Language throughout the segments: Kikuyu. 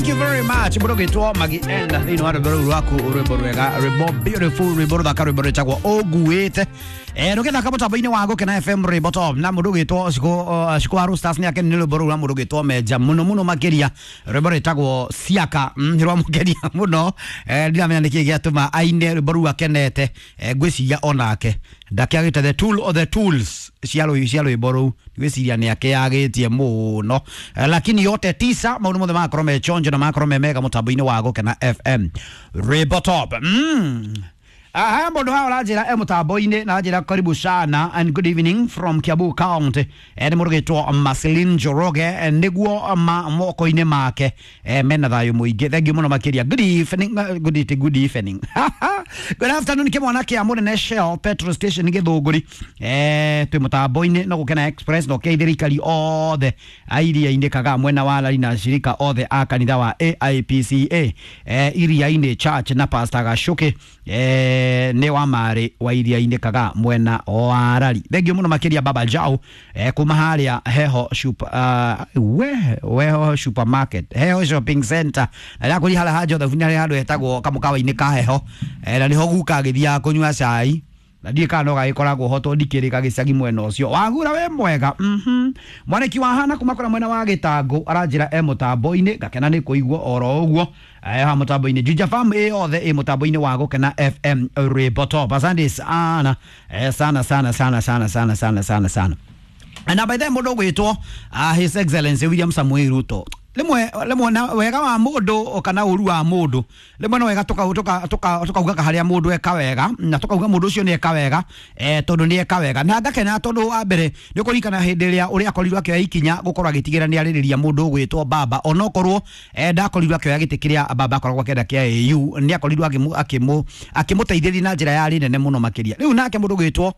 Thank you very much. Mũndũ ũgĩtwo Magi N thĩinĩ wa rwĩmbo rũu rwaku, rwĩmbo rwega, rwĩmbo beautiful, rwĩmbo rũthaka, rwĩmbo rwĩtagwo Ũnguĩte. Rũgĩthaka mũtambo-inĩ wa Gũkena FM rwĩmbo top na mũndũ ũgĩtwo Shiko wa Roosters nĩ akeni nĩ rwĩmbo rũu rwa mũndũ ũgĩtwo Menja mũno mũno makĩria, rwĩmbo rwĩtagwo Siaka, nĩ rwamũkenia mũno. Ndiramenya nĩkĩ gĩatũma aine rwĩmbo rũu akenete. Ngwĩciria onake ndakĩagĩte the tool of the tools cia rwĩmbo rũu, ngwĩciria nĩ akĩagĩtie mũno. Lakini yote tisa, maũndũ mothe magakorwo me chonjo na magakorwo me mega mũtambo-inĩ wa Gũkena FM rwĩmbo top. Haya, mũndũ haha ũranjĩra e mũtambo-inĩ na anjĩra karibu sana and good evening from Kiambu County. Nĩ mũndũ ũgĩtwo Marceline Njoroge, nĩguo ma moko-inĩ make mena thayũ mũingĩ. Thank you mũno makĩria. Good evening, good evening, good afternoon. Kĩmwana kĩa mũnene Shell petrol station Gĩthũngũri, twĩ mũtambo-inĩ no Gũkena Express no kĩaithĩrĩria ikari othe a iria-inĩ kaga mwena wa Lari na shirika othe a kanitha wa AIPCA, iria-inĩ church na Pastor Gacuki, nĩ wa marĩ wa iria-inĩ kaga mwena wa Rari. Thank you mũno makĩria. Baba Jao, kuma harĩa Heho super, we Weho supermarket, Heho shopping center, na rĩa harĩa ha Joseph nĩ harĩa handũ hetagwo kamũkawa-inĩ ka Heho, na nĩho guka agĩthiaga kũnyua cai na ndiĩ kana no gagĩkoragwo ho tondũ ndikĩrĩ gagĩcagi mwena ũcio wagura we mwega. Mwaniki wa hana kuma kũrĩa mwena wa Gĩtangũ aranjĩra e mũtambo-inĩ, ngakena nĩ kũigua oro ũguo ha mũtambo-inĩ. Juja Farm ĩ yothe ĩ mũtambo-inĩ wa Gũkena FM rwĩmbo top. Asante sana, sana sana sana sana sana sana sana sana. Na by the way, mũndũ ũgwĩtwo His Excellency William Samoei Ruto, rimwe rimwe na wega wa mundu kana uru wa mundu, rimwe no wega tukauga haria mundu eka wega na tukauga mundu ucio ni eka wega, tondu ni eka wega na ngakena, tondu wa mbere ni ukurikana hindi iria uria akorirwo akioya ikinya gukorwo agitigira ni aririria mundu ugwitwo baba, onokorwo ndakorirwo akioya giti kiria baba akoragwo akenda kia AU, ni akorirwo akimuteithĩrĩria na njĩra yarĩ nene mũno makĩria. Rĩu nake mũndũ ũgwĩtwo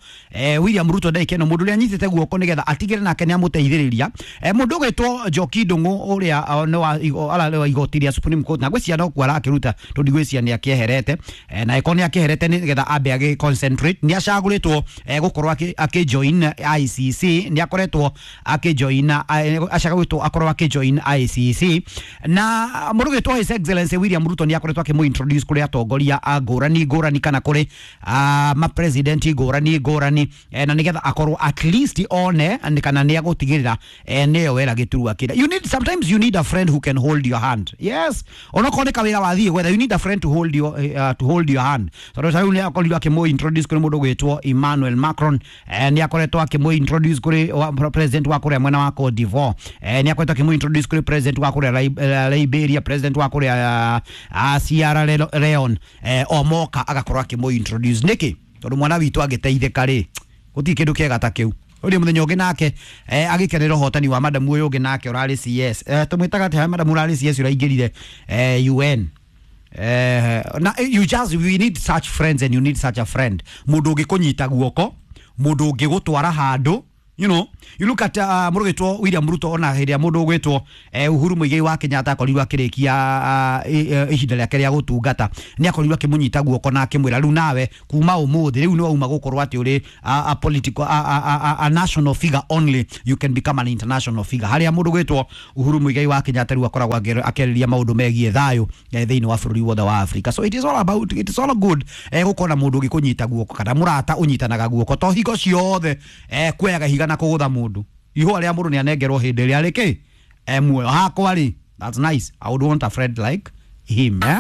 William Ruto ndagĩka ĩno, mũndũ ũrĩa anyitĩte guoko nĩgetha atigĩre nake nĩ amũteithĩrĩria, mũndũ ũgwĩtwo Njoki Ndung'u ũrĩa nĩ wa ararĩ wa igoti rĩa Supreme Court, na ngwĩciria no kuo arakĩruta tondũ ndigwĩciria nĩ akĩeherete, na ĩkorwo nĩ akĩeherete nĩgetha ambe agĩ concentrate. Nĩ acagũrĩtwo gũkorwo akĩ join ICC, nĩ akoretwo akĩ join, acagũrĩtwo akorwo akĩ join ICC, na mũndũ ũgwĩtwo His Excellency William Ruto nĩ akoretwo akĩmũ introduce kũrĩ atongoria a ngũrani ngũrani kana kũrĩ ma president ngũrani ngũrani, na nĩgetha akorwo at least one nĩ kana nĩ agũtigĩrĩra nĩyo wera gĩturwa kĩrĩa. You need, sometimes you need a friend who can hold your hand. Yes, onokorwo nĩ kawĩra wathiĩ gwetha, you need a friend to hold your hand, tondũ ta rĩu nĩ akorirwo akĩmũ introduce kũrĩ mũndũ ũgwĩtwo Emmanuel Macron, nĩ akoretwo akĩmũ introduce kũrĩ president wa kũrĩa mwena wa Cote d'Ivoire, nĩ akoretwo akĩmũ introduce kũrĩ president wa kũrĩa Liberia, president wa kũrĩa Sierra Leone, o moka agakorwo akĩmũ introduce. Nĩkĩ? Tondũ mwana witũ angĩteithĩka rĩ, gũtirĩ kĩndũ kĩega ta kĩu. Ũrĩ mũthenya ũngĩ nake agĩkenera ũhotani wa madamu ũyũ ũngĩ nake ũrarĩ CS, tũmwĩtaga atĩa madamu ũrarĩ CS ũraingĩrire UN? Na you just, we need such friends and you need such a friend, mũndũ ũngĩkũnyita guoko, mũndũ ũngĩgũtwara handũ. You look at mũndũ ũgwĩtwo William Ruto, ona hĩndĩ ĩrĩa mũndũ ũgwĩtwo Uhuru Muigai wa Kenyatta akorirwo akĩrĩkia ihinda rĩake rĩa gũtungata, nĩ akorirwo akĩmũnyita guoko na akĩmwĩra, "Rĩu nawe kuma ũmũthĩ rĩu nĩ wauma gũkorwo atĩ ũrĩ a political, a national figure only, you can become an international figure," harĩa mũndũ ũgwĩtwo Uhuru Muigai wa Kenyatta rĩu akoragwo akĩarĩria maũndũ megiĩ thayũ thĩinĩ wa bũrũri wothe wa Africa. So it is all about, it is all good gũkorwo na mũndũ ũngĩkũnyita guoko kana mũrata ũnyitanaga guoko, to hingo ciothe kuoyaga ihiga na kũgũtha mũndũ. Ihũa rĩa mũndũ nĩ anengerwo hĩndĩ ĩrĩa rĩkĩ muoyo hakwa rĩ. That's nice. I would want a friend like him, eh?